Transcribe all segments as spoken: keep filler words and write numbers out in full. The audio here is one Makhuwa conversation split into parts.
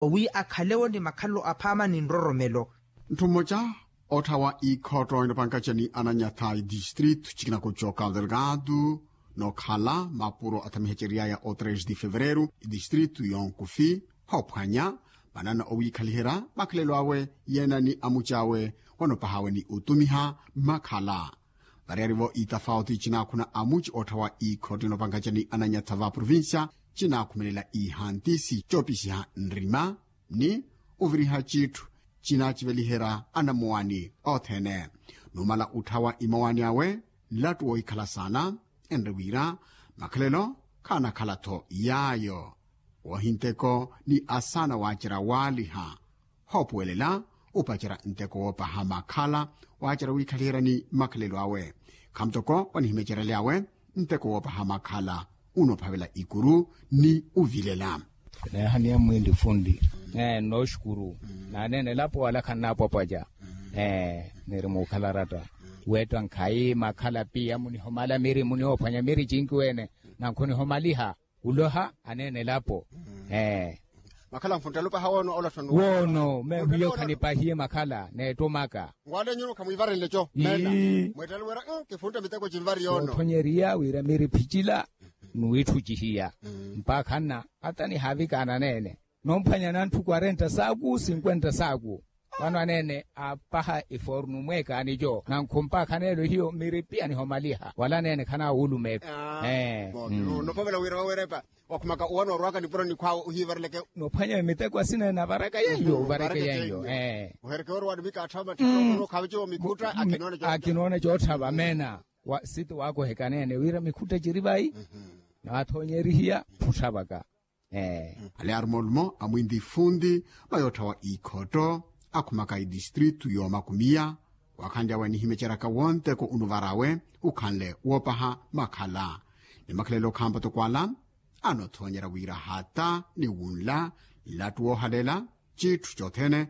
wi akhalewo ni makhalelo aphaama ni nroromelo. Ntthu mmoca otthawa ikhotto inopankaca ni ananyatha itistritu cikinako co cabo delgado nokhala mapuro athamiheceriyaya o tres de fevereru itistritu yonkufi hoophwanya manana owiikhaliherya makhalelo awe yeena ni amuc'awe wanopahawe ni otumiha makhala. Variyari-vo itafauti cinaakhuna amuci otthawa ikhotto inopankaca ni ananyatha va provincia cinaakhumelela ihantisi coopisiha nrima ni oviriha citthu cinaaciveliherya anamowani othene. Numala utthawa imowani awe nlattu wohikhala saana enre wira makhalelo khaanakhala-tho yaayo wohinteko ni asaana waacerya waaliha hoopuwelela upacerya nteko woopaha makhala waacerya wiikhaliherya ni makhalelo awe khamutoko wanihimeceryaly'awe nteko woopaha makhala unophavela ikuru ni uvilela. Neehaniya mwinli funli. Ee nnooxukuru. Naneene elapo wala khannaapwapwaca. Ee niri muukhala ratta weetta nkhayi makhala piya munihomala miri munihoophwanya miri cinki wene. Nankhunihomaliha uloha aneene elapo. Ee makhala nfunttela opaha woono ola tthoni woono meehiyo khanipahiye makhala neettomaka. Ngwale nyuno khamwiivarenle co meena mweettela wira kifuntta miteko cinvari yoono. Soothonyeriya wira miri phicila nuwiitthucihiya mpakha nna ata nihaavikaana neene nomphwanya nanthu kwarenta saaku sinkwenta saaku. Vano aneene aapaha efornu mweekaani co nankhu mpakha neelo hiyo miri piya nihomaliha wala neene khanaawulumeeko. Ee nopovela wira wawerepa wakhumaka uwano orwaka nipuro nikhwaawe ohiivareleke. Nophwanya miteko asina enavaraka yenyo ovareke yenyo. Ee ohereke orwani mikaatthava matthaka onookhaveca mikhutta akinoona cootthava meena. Siti waakoheka neene wira mikhutta ciri vayi naathonyerihiya phuthavaka. Ee ale arumoolumo amwinli funli mayootthawa ikhotto akhumaka itistritu yoomakumiya. Wakhanlyawe nihimeceraka wonteko unuvarawe ukhanle woopaha makhala ni makhalelo khampatoko ala anothonyerya wira hata ni wunla nlattu woohalela citthu cothene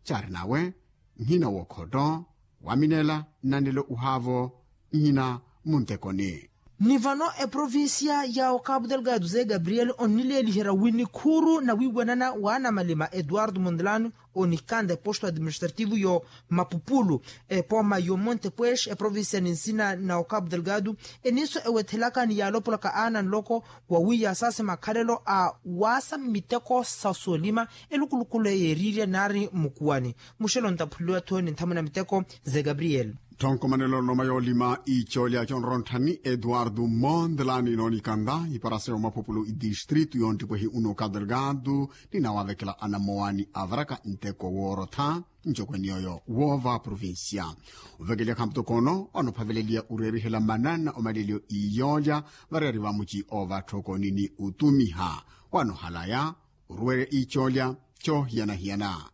caari nawe nhina wookhotto waminela nnanelo uhaavo nhina muntekoni. Ni vano eprovincia ya okapu delgado ze gabriel onnileeliherya wi nikhuuru na wiiwanana wa anamalima eduardo mondlane onikanda eposto administrativo yo mapupulu epoma yo monte pues eprovincia ni nsina na okapu delgado eniso ewethelaka ni yaalopolaka aana nloko wa wi yaasase makhalelo a waasa miteko sa soolima elukulukulu eyeeriirya naari mukuwani muxelo ntaphuliwa-tho ni nthamuna miteko ze gabriel. Tthonkomanelo noma yoolima icoolya conrontthani eduardo mondlani noonikanda iparasa yomaphupulu itistritu yonttipwehi uno okapu delgado ninawaavekela anamowani avaraka nteko woorotha ncokweni yooyo woova provincia. Ovekelya khamputoko ono onophaveleliya oreerihela mananna omaleliyo iyoolya variyari vamuci oovatthokoni ni otumiha wanohalaya oruwerya icoolya coohiyana-hiyana.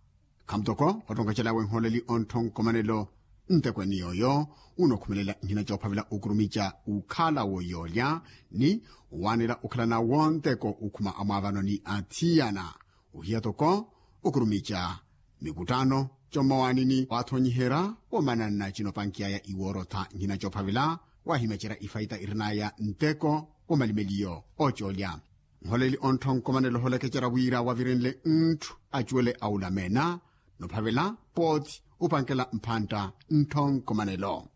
Khamutoko ottonkacel'awe nholeli ontthonkomanelo ntekweni yooyo unokhumelela nhina coophavela okurumica ukhala woyoolya ni owaanela okhalana wonteko okhuma amwaavano ni athiyana ohiya toko okurumica mikuttano commawaanini waathonyiherya womananna cinopankiyaya iwoorotha nhina coophavela waahimecerya ifaita irinaya nteko womalimeliyo oocoolya. Nholeli ontthonkomanelo holekecerya wira wavirenle ntthu acuwele awulamena nophavela pooti upankela mphantta ntthonkomanelo.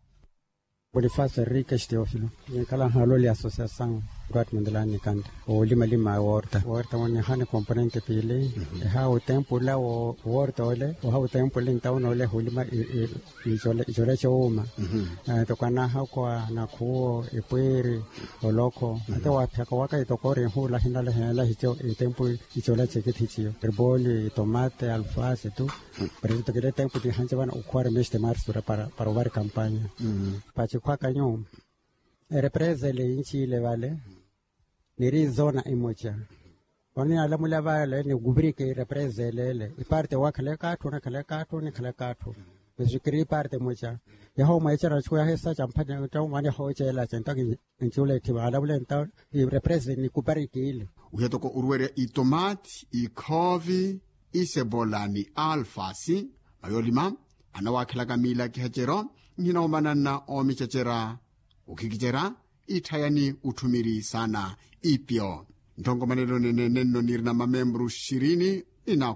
Bonifacio henrique steofilo. Ninkhala nhaloli associação eduardo mondlane nikanda oolimalima worta worta wonihani componente piili eha otempo ula worta ole oha otempo ole ntawuna ole hulima icola cowuma. Toko anaha okwa nakhuwo epwiiri oloko ate waaphiyaka waka itokori nhuula hinalahi hinalahi co itempu icola cekithiciyo triboli tomate alfasi tu. Por eso tokile tempu tihanca vana okhuwari mesi te marsu para ovara ekampanya. Pacikhwaka nyu erepresa ele inci ile vale niri zona imoca. Oninalamula vale ni kuviriki represa ele ele iparte wakhaleka atthu onakhaleka atthu onikhaleka atthu. Mesi kiri iparte moca yaha omwecerana ciku yaha esaca mphani ntta omwaneha oceelaca ntta kinculeethi vaalavule ntta irepresa ni kupariki ile. Wiha toko oruwerya itomati ikhoovi isebola ni alfasi mayoolima anawakhelaka miilakiheceryo nhina omananna oomicecerya okhikicerya itthayani otthumiri saana ipyo. Ntthonkomanelo nene nenno nirina mamembru xirini inaakhu